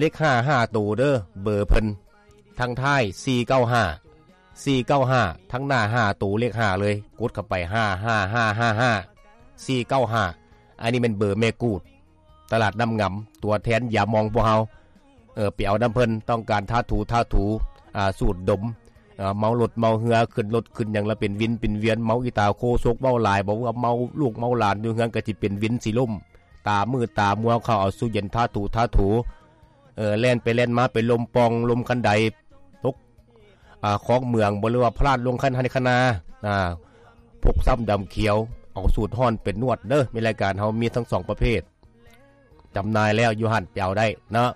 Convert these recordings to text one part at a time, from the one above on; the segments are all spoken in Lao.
ເລກຫ້າ ຫ້າໂຕເດີ ເບີເພິ່ນ ທັງທ້າຍສີ່ເກົ້າຫ້າ ສີ່ເກົ້າຫ້າ ທັງໜ້າຫ້າໂຕ ເລກຫ້າເລີຍ ກົດເຂົ້າໄປ ຫ້າຫ້າຫ້າຫ້າ ສີ່ເກົ້າຫ້າ. ອັນນີ້ແມ່ນເບີແມ່ກູດ ຕະຫຼາດນ້ຳງາມ ຕົວແທນຢາມອງພວກເຮົາ ເອີ ໄປເອົານຳເພິ່ນ ຕ້ອງການທາຖູ ທາຖູ ອາ ສູດດົມ ເອີ ເມົາລົດເມົາເຮືອ ຂຶ້ນລົດຂຶ້ນຫຍັງລະເປັນວິນເປັນວຽນ ເມົາອີ່ຕາໂຄສົກ ເວົ້າຫຼາຍ ບອກວ່າເມົາລູກເມົາຫຼານຢູ່ເຮືອນ ກະຊິເປັນວິນຊິລົ້ມ ຕາມືດຕາມົວ ເຂົ້າເອົາຕູ້ເຢັນ ທາຖູ ທາຖູ ເອີ ແລ່ນໄປແລ່ນມາ ໄປລົມປ່ອງ ລົມຄັນໄດ ຕົກ ອາ ຂອງເມືອງ ບໍ່ ຫຼືວ່າພະລາດລົງຄັນໄຮ່ຄັນນາ ອາ ພົກຊ້ຳດຳຂຽວ ເອົາສູດຮ້ອນໄປນວດເດີ ມີລາຍການເຮົາມີທັງສອງປະເພດ ຈຳໜ່າຍແລ້ວຢູ່ຫັ້ນ ໄປເອົາໄດ້ເນາະ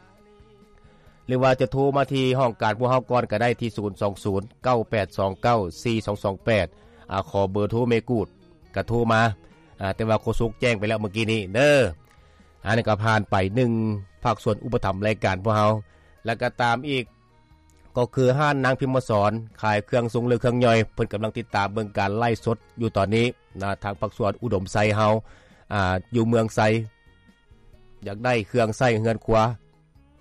ຫຼືວ່າຈະໂທມາທີ່ຫ້ອງການພວກເຮົາກ່ອນກໍໄດ້ ທີ່ ສູນສອງສູນ ເກົ້າແປດສອງເກົ້າ ສີ່ສອງສອງແປດ ອາ ຂໍເບີໂທແມ່ກູດ ກໍໂທມາ ອາ ແຕ່ວ່າໂຄສົກແຈ້ງໄປແລ້ວເມື່ອກີ້ນີ້ເດີ. ອັນນີ້ກໍຜ່ານໄປ ໜຶ່ງ ພາກສ່ວນອຸປະຖຳລາຍການພວກເຮົາ ແລ້ວກໍຕາມອີກ ກໍຄືຮ້ານນາງພິມມະສອນ ຂາຍເຄື່ອງຊົງ ຫຼື ເຄື່ອງຍ່ອຍ ເພິ່ນກຳລັງຕິດຕາມເບິ່ງການໄລຟ໌ສົດຢູ່ຕອນນີ້ນະ ທາງພາກສ່ວນອຸດົມໄຊເຮົາ ອາ ຢູ່ເມືອງໄຊ ຢາກໄດ້ເຄື່ອງໃຊ້ເຮືອນຄົວ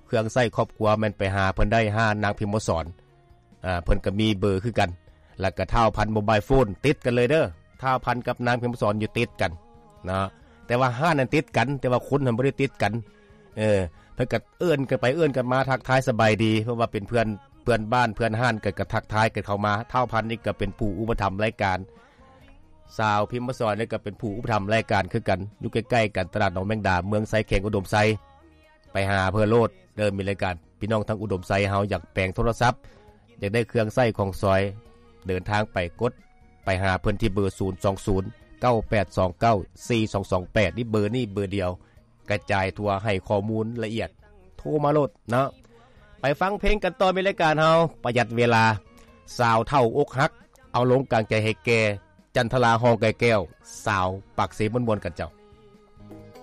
ເຄື່ອງໃຊ້ຄອບຄົວ ແມ່ນໄປຫາເພິ່ນໄດ້ ຮ້ານນາງພິມມະສອນ ອາ ເພິ່ນກໍມີເບີຄືກັນ ແລ້ວກໍທ້າວພັນໂມບາຍໂຟນ ຕິດກັນເລີຍເດີ ທ້າວພັນກັບນາງພິມມະສອນຢູ່ຕິດກັນເນາະ ແຕ່ວ່າຮ້ານນັ້ນຕິດກັນ ແຕ່ວ່າຄົນຫັ້ນບໍ່ໄດ້ຕິດກັນ ເອີ ເພິ່ນກໍເອີ້ນກັນໄປເອີ້ນກັນມາ ທັກທາຍສະບາຍດີ ເພາະວ່າເປັນເພື່ອນ ເພື່ອນບ້ານເພື່ອນຮ້ານກັນ ກໍທັກທາຍກັນເຂົ້າມາ ທ້າວພັນນີ້ກໍເປັນຜູ້ອຸປະຖຳລາຍການ ສາວພິມມະສອນນີ້ກໍເປັນຜູ້ອຸປະຖຳລາຍການຄືກັນ ຢູ່ໃກ້ໆກັນ ຕະຫຼາດໜອງແມງດາ ເມືອງໄຊ ແຂວງອຸດົມໄຊ ໄປຫາເພິ່ນໂລດເດີ ມີລາຍການ ພີ່ນ້ອງທາງອຸດົມໄຊເຮົາຢາກແປງໂທລະສັບ ຢາກໄດ້ເຄື່ອງໃຊ້ຂອງສອຍ ເດີນທາງໄປ ກົດໄປຫາເພິ່ນທີ່ເບີ ສູນສອງສູນ ເກົ້າແປດສອງເກົ້າ ສີ່ສອງສອງແປດ ນີ້ເບີນີ້ເບີດຽວ ກະຈາຍທົ່ວ ໃຫ້ຂໍ້ມູນລະອຽດ ໂທມາໂລດເນາະ. ໄປຟັງເພງກັນຕໍ່ ມີລາຍການເຮົາ ປະຢັດເວລາ ສາວເຖົ້າອົກຫັກ ເອົາລົງກາງໃຈໃຫ້ແກ່ ຈັນທະລາ ຮອງໄກ່ແກ້ວ ສາວປາກເຊ ມ່ວນໆກັນເຈົ້າ.